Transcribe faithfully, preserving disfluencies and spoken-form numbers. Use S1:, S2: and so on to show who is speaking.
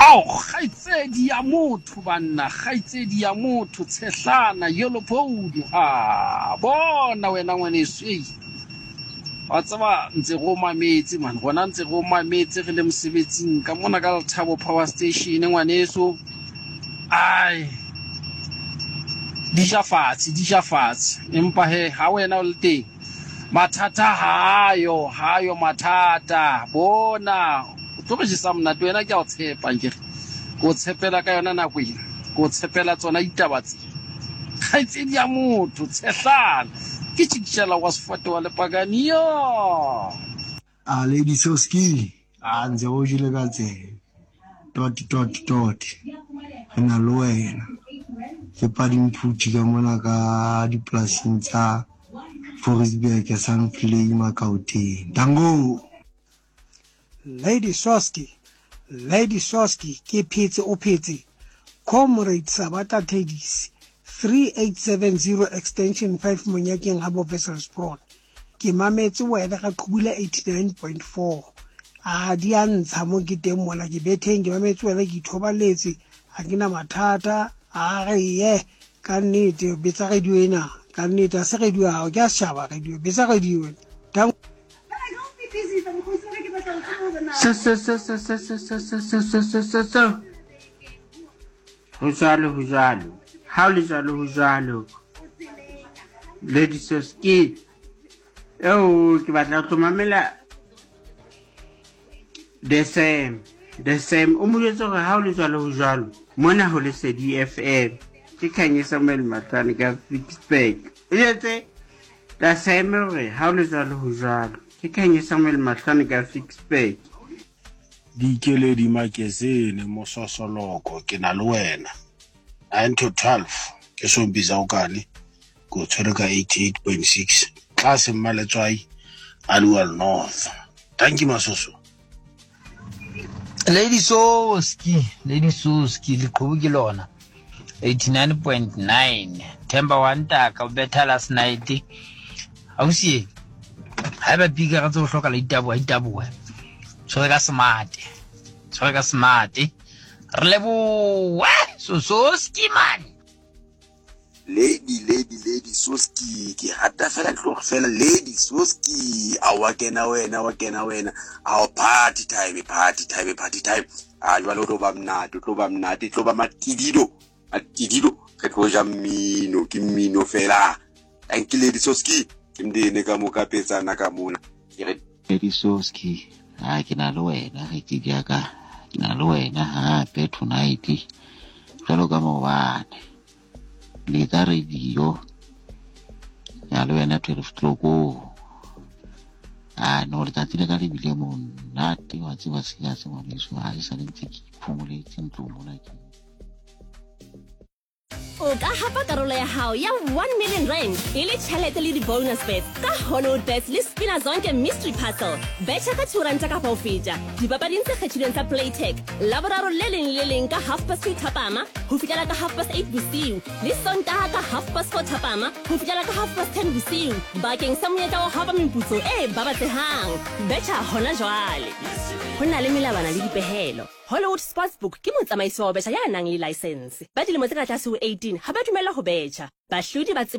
S1: Ao, kgaitsedi ya motho banna, kgaitsedi ya motho, tshehlana, yellow bone. Ha, bona wena ngwaneso, ei. Wa tseba ntse re o mametse man, rona ntse re o mametse re le mosebetsing ka mona ka Lethabo Power Station ngwaneso. Ai. Di ja fatshe, di ja fatshe. Empa he, ha wena o le teng, mathata hayo, hayo mathata. Bona, o tlo re jesa monate wena ke a o tshepa nkere. Ke o tshepela ka yona nako ena. Ke o tshepela tsona ditaba tse. Kgaitsedi ya motho, tshehlana. Ke tjikitjela wa sefate wa lepakane yo.
S2: A Lady Soski, a ntse go jele ka tsebe. Dot dot dot. Re na le wena. Ke Padimphuthi ka mona ka dipolasing tsa Fouriesburg, Sandvlei, Makaoteng. Dango!
S3: Lady Soski, Lady Soski, ke phetse o phetse? Comrade Sabata Tedis, three eight seven zero extension five Monyakeng ga bo Wesselsbron. Ke mametse wena ga Qubula eighty-nine point four. A di a ntsha mo ke teng mona ke betheng ke mametse wena ke ithobaletse ha ke na mathata a re ye ka nnete betsa radio ena ka nnete a se radio ya hao ke a setjhaba radio betsa radio ena.
S4: Se se se se se se se se se se se se se. Ho jwalo ho jwalo. Ha o le jwalo ho jwalo. Lady Soski. Eo ke batla ho tlo mamela the same. The same. O mo jwetse hore ha o le jwalo ho jwalo. Mona ho Lesedi F M. Ke Khanye Samuel Matlwane ka Ficksburg. O jwetse the same hore ha o le jwalo ho jwalo. Ke Khanye Samuel Matlwane ka Ficksburg.
S5: Dikeledi Makesene mososoloko ke na le wena. nine to twelve ke sompisa o kane ko tshwere ka eighty-eight point six tlase Mmaletswai Aliwal North. Thank you Masoso.
S6: Lady Soski, Lady Soski leqhubu ke lona eighty-nine point nine Themba wa ntaka o betha last night. Ausi ha ba pika ka tso hloka la itaboha itaboha. Tshwere ka smart. Tshwere ka smart. Re leboha Sososki man.
S7: Lady, lady, lady Soski, ke rata fela tlogo fela Lady Soski. A wa kena wena, wa kena wena. A party time, party time, party time. A jwale o tlo ba monate, o tlo ba monate, tlo ba matidido. Matidido, re tlo ja mmino, ke mmino fela. Thank you Lady Soski. Ke mdene ka mo ka petsana ka mona. Ke re
S8: Lady Soski, ha ke na le wena, re ke ya ka. Ke na le wena hape tonight. Jwalo ka maobane. Letsa radio. Ya le wena twelve o'clock. Ah no, letsatsi le ka le bile monate wa tseba se ya se ngwaneso ha e sa le ntse ke iphomoletse ntlong mona ke.
S9: O ka hapa karolo ya hao ya one million rand e le tjhelete le di-bonus bets ka Hollywood Bets le Spina Zonke Mystery Puzzle. Betjha ka two ranta kapa ho feta dipapading tse kgethilweng tsa Playtech Laboraro le leng le leng ka half past two thapama ho fihlela ka half past eight bosiu le Sontaha ka half past four thapama ho fihlela ka half past ten bosiu bakeng sa monyetla wa ho hapa meputso e babatsehang. Betjha hona jwale. Ho na le melawana le dipehelo. Hollywood Sportsbook ke motsamaisi wa ho betjha ya nang le license. Ba dilemo tse ka tlase ho eighteen ha ba dumellwa ho betjha. Bahlodi ba tseba